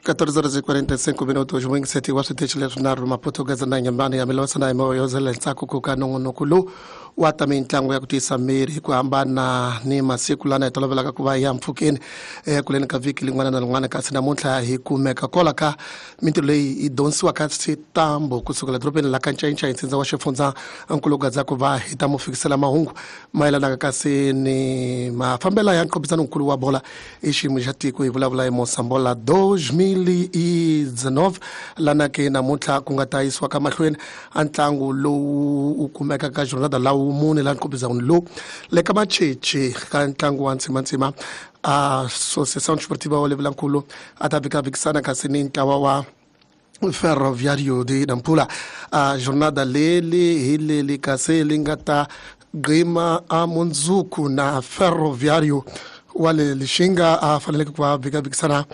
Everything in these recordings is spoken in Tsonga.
14:45 minutos mwingiseti wa switichi leswinharhu Maputo Gaza na Nyambani ya Milosa na Imoyo ntsako ku ka nongonoko lowu wa ta mitlangu ya ku tiyisa miri hi ku hambana ni masiku lana hi tolovelaka ku va ya mpfhukeni ekuleni ka vhiki lin'wana na lin'wana, kasi namuntlha hi kumeka kola ka mintirho leyi yi dyondzisiwaka switambo kusukela dorobeni la ka Ncayincai ntsindza wa xifundza nkulugadza ku va hi ta mu fikisela mahungu mayelanaka kasi ni mafambela ya nqophisano nkulu wa bola i xiyimo xa tiko. Hi vulavula hi Mosambola 2019 lana ke namuntlha ku nga ta yisiwa ka mahlweni a ntlangu lowu wu kumeka ka jornada la wumune la nqophisano lowu le ka Macheche ka ntlangu wa ntsimantsima a Associação Desportiva wa Levelankulu a ta vikavhikisana kasi ni ntlawa wa Ferroviário de Nampula. A jornada leli hi leli kasi li nga ta gqima a mundzuku na Ferroviário wa le Lixinga a faneleke ku va vikavikisana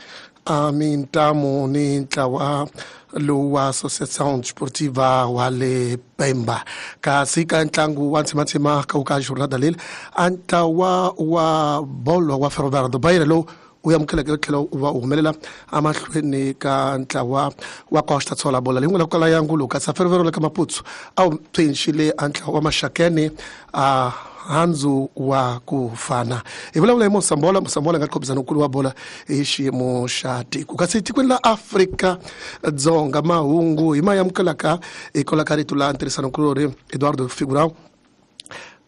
a mintamu ni ntlawa lowu wa Associação Desportiva wa le Pemba. Kasi ka ntlangu wa ntsimantsima ka wu ka jornada leli a ntlawa wa bolo wa Ferroviário do Beira lowu u amukeleke tlhela u va u humelela emahlweni ka ntlawa wa Costa Tshola bola leyi nga la ku kala ya ngulu, kasi Ferroviário le ka Maputo a wu pfinxile a ntlawa wa Maxakeni a handzu wa ku fana. Hi vulavula hi Mosambola. Mosambola nga qhobisana nkulu wa bola hi xiyimo xa tiko. Kasi tikweni la Afrika Dzonga mahungu hi ma amukelaka hikwalaho ka rito la ntirhisano nkulori Eduardo Figurão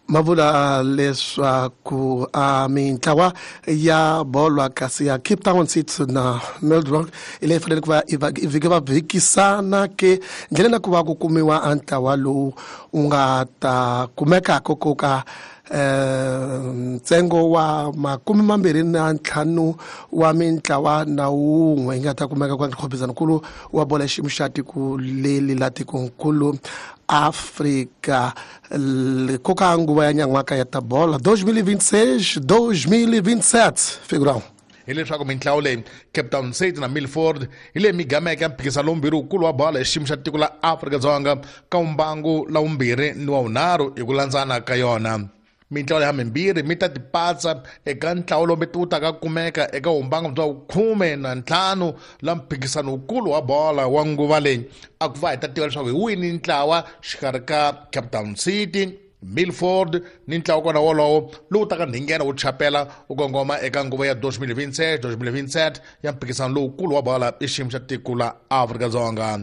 ma vula leswaku a mintlawa ya bolo kasi ya Cape Town City na Melbourne hi leyi fanele ku va i vhike va vhikisana ke ndleleni na ku va ku kumiwa a ntlawa lowu wu nga ta kumekaka ku ka ntsengo wa 25 wa mintlawa na wun'we yi nga ta kumeka kwa nkhopizano wa bola xiyimo xa tiko leli la tikonkulu Afrika koka nguva ya nyan'waka ya ta bola 2026 2027 figurão. Hileswaku mintlawa leyi Cape Town City na Milford hi leyi migameke ya mphikizano lowumbirhi wukulu wa bolo hi xiyimo xa tiko la Afrika-Dzonga ka mbangu la vumbirhi ni wa vunharhu hi ku landzana ka yona. Mintlawa leyi mimbirhi mi ta tipatsa eka ntlawa lowu wu taka kumeka eka vumbangu bya 15 la mphikizano wukulu wa bola wa nguva leyi. A ku va hi ta tiva leswaku hi wini ntlawa xikarhi ka Cape Town City, Milford ni ntlawa kona wolowo lowu taka ndhingena wu chapela wu kongoma eka nguva ya 2026 2027 ya mphikizano lowukulu wa bola i xiyimo xa tiko la Afrika-Dzonga.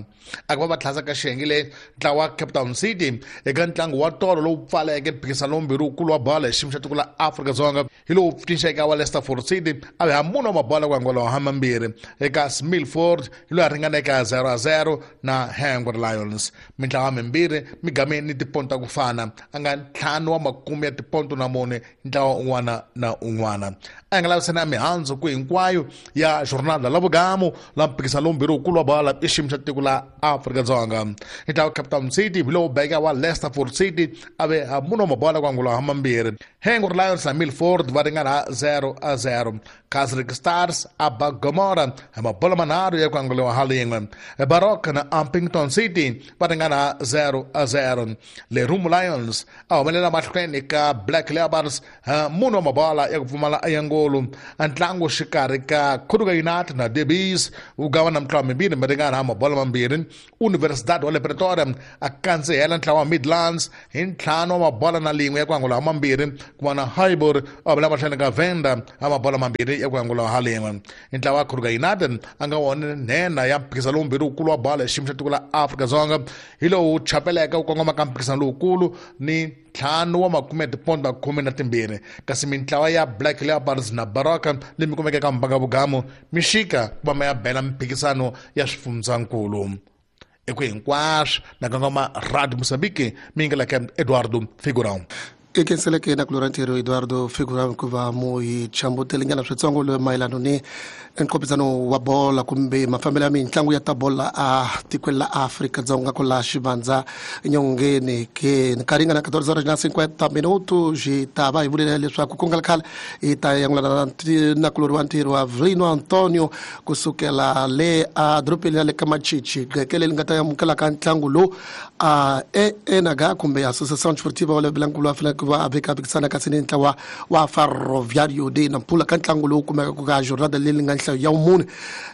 A ku va va tlhasa ka xiyenge leyi ntlawa wa Cape Town City eka ntlangu wa tolo lowu pfaleke mphikizano lowumbirhi wukulu wa bola hi xiyimo xa tiko la Afrika-Dzonga hi lowu pfinxeke wa Leicester City a va mune wa mabola ku angula ha mambirhi eka Milford hi loyi a ringaneke 0-0 na Hungry Lions. Mintlawa mimbirhi mi ni tiponto ta ku fana a nga 5 wa makume ya tiponto na mune ntlawa un'wana na un'wana. A nga lavisana mihandzu ku hinkwayo ya jornada la vugamu la mphikizano lowumbirhi wukulu wa bola i xiyimo xa tiko la Afrika-Dzonga. Ntlawa Cape Town City hi lowu beka wa Leicester City a ve mune wa mabola ku angula ha mambirhi. Hungry Lions na Milford va ringana 0-0. Casric Stars a ba Gomora hi mabola manharhu ya ku anguriwa ha lin'we. Baroque na Upington City va ringana 0-0. Lerumo Lions a humelela mahlweni ka Black Leopards mune wa mabola ya ku pfumala ya ngolu. Ntlangu xikarhi ka Khuduka United na Debis wu gava na mitlawa mimbirhi mi ringana mabola mambirhi. Universidad wa le Pretoria a kandzihela ntlawa wa Midlands hi 5 wa mabola na lin'we ya ku angula ha mambirhi, ku va na Highbury a humelela mahlweni ka Venda ha mabola mambirhi ya ku angula ha lin'we. Ntlawa wa Khuduka United a nga wona nhenha ya mphikizano lowumbirhi wukulu wa bola hi xiyimo xa tiko la Afrika-Dzonga hi lowu chapeleke wu kongoma ka mphikizano lowukulu ni 5 wa makume ya tiponto 12, kasi mintlawa ya Black Leopards na Baroka leyi mi kumeke ka mbanga vugamu mi xika ku va ma ya bela mphikizano ya swifundzankulu. Eku hinkwaswo na kongoma Radio Mozambique mi nga ka Eduardo Figurão. I khenseleke na kulora ntirho Eduardo Figurão ku va mu hi chambutelinyana switsongo loyi mayelano ni nqophisano wa bola kumbe mafambelo ya mitlangu ya ta bola a tikweni la Afrika-Dzonga ku la xivandza nyongeni ke nkarhi nga na 14:50 minutos. Hi ta va hi vulele leswaku ku nga ri khale hi ta yangulana na kulori wa ntirho wa Avelino Antonio kusukela le a dorobeni ya le ka Machichi gqeke leri nga ta amukelaka ntlangu lowu a enaga kumbe Associação Desportiva wa Levelankulu wa faneleke ku va a vekavekisana kasi ni ntlawa wa Ferroviário de Nampula ka ntlangu lowu kumekaka ka jornada leyi nga nhlayo ya vumune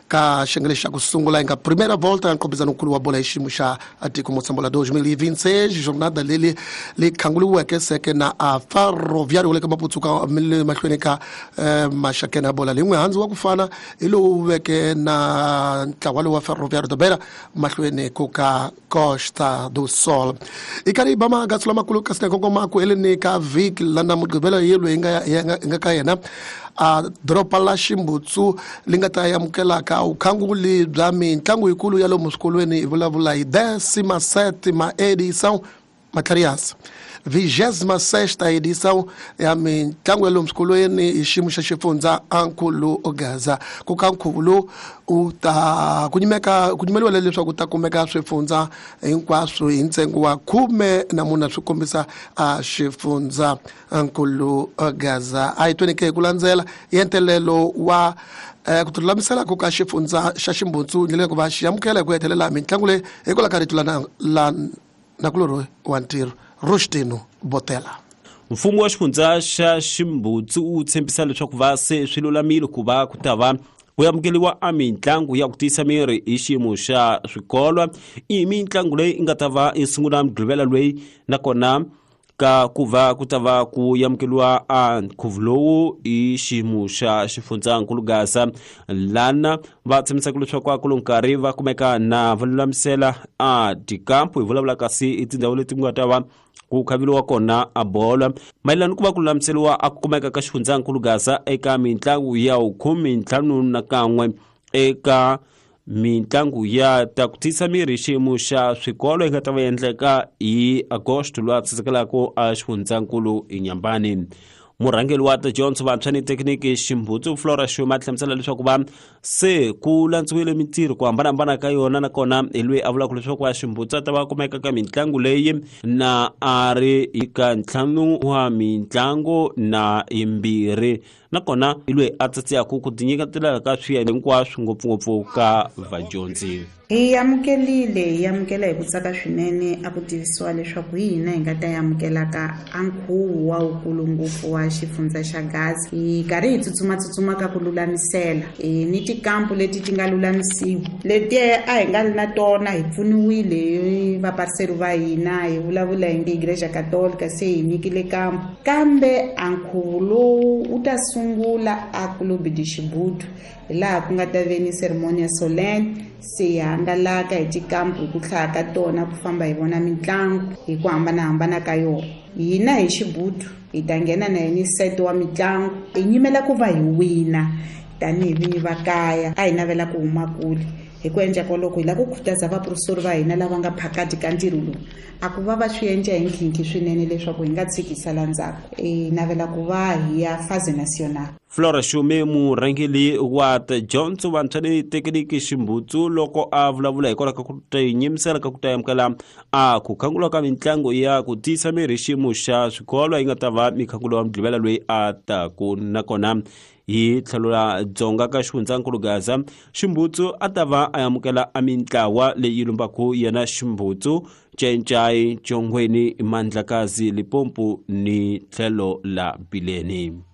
ka xiyenge xa ku sungula yi nga primera volta ya nkombisanokulu wa bola hi xiyimo xa tiko Moçambola 2026 jornada leli li khanguliweke seke na a Ferroviário le ka Maputsuka le mahlweni ka maxakeni ya bola lin'we handzu wa ku fana hi lowu veke na ntlawa lowu wa Ferroviário da Beira mahlweni ku ka Costa do Sol. I karhi yi ba magatsu lamakulu kasi na kongoma ku heleni ka vhiki lana Mugqivela yelo yi nga ka yena a doroba la Ximbutsu li nga ta amukelaka vukhanguli bya mitlangu yikulu ya lomu swikolweni hi vulavula hi 17ª edição Matlharias 26ª edição ya mitlangu ya lomu swikolweni hi xiyimo xa xifundza Ankulu Gaza. Ku ka nkhuvo lowu u ta ku nyimeka ku nyimeliwa leswaku ta kumeka swifundza hinkwaswo hi ntsengo wa 14 swi kombisa a xifundza Ankulu Gaza. A hi tweni ke hi ku landzela yentelelo wa ku tilulamisela ku ka xifundza xa Ximbutsu ndlela ku va xi amukela hi ku hetelela mitlangu leyi hikwalaho ka rito la nakulorhi wa ntirho Rustino Botela. Mfumo wa xifundza xa Ximbutsu wu tshembisa leswaku va se swi lulamile ku va ku ta va ku amukeriwa a mitlangu ya ku tiyisa miri hi xiyimo xa swikolo. I mitlangu leyi nga ta va yi sungula Mugqivela loyi nakona ka ku va ku ta va ku amukeriwa a nkhuvo lowu hi xiyimo xa xifundzankulu Gaza lana va tshembisaka leswaku a ku lo nkarhi va kumeka na va lulamisela a tikampu hi vulavula kasi i tindhawu leti ku nga ta va ku khaveliwa kona a bolo mayelana ku va ku lulamiseriwa a ku kumeka ka xifundzankulu Gaza eka mitlangu ya 51 eka mitlangu ya ta ku tiyisa miri xiyimo xa swikolo yi nga ta va endleka hi Agosto loyi a tsisekelaka a xifundzankulu Inhambane. Murhangeri wa tidyondzo vantshwa ni thekiniki Ximbutsu Flora Xuma hlamusela leswaku va se ku landziwile mintirho ku hambanahambana ka yona nakona hi loyi a vulaka leswaku va Ximbutsu a ta va kumeka ka mitlangu leyi na a ri ka 5 wa mitlangu na 2 nakona hi loyi a tsatsiyaka ku tinyiketela ka swiyenge hinkwaswo ngopfungopfu ka vadyondzi. Hi amukelile hi amukela hi ku tsaka swinene a ku tivisiwa leswaku hi hina hi nga ta amukelaka a nkhuvo wa wukulu ngopfu wa xifundza xa Gaza. Hi karhi hi tsutsumatsutsuma ka ku lulamisela ni tikampu leti ti nga lulamisiwa leti a hi nga ri na tona hi pfuniwile hi vapariseri va hina hi vulavula hi Igreja Católica se hi nyikile kampu kambe a nkhuvo lowu wu ta sungula a Clube de Xibudu hi laha ku nga ta ve ni ceremonia solemne se hi hangalaka hi tikampu hi ku hlaya ka tona ku famba hi vona mitlangu hi ku hambanahambana ka yona. Hina hi Xibudu hi ta nghena na yini set wa mitlangu hi nyimela ku va hi wina tanihi vinyi va kaya a hi navela ku huma kule hi ku endla koloko hi lava ku khutaza vaprofesori va hina lava nga phakati ka ntirho lowu a ku va va swi endla hi nkhinkhi swinene leswaku hi nga tshikisa la ndzhaku hi navela ku va hi ya phase national. Flora Xume murhangeri wa tidyondzo vantshwa ni thekiniki Ximbutsu loko a vulavula hikwalaho ka ku tinyimisela ka ku ta amukela a ku khangula ka mitlangu ya ku tiyisa miri xiyimo xa swikolo yi nga ta va mikhangulo wa Mugqivela loyi a taku nakona hi tlhelo ra Dzonga ka xifundzankulu Gaza Ximbutsu a ta va a amukela a mintlawa leyi lumbaku yena Ximbutsu Cencai Chongweni Mandlakazi Limpopo ni tlhelo la Bileni.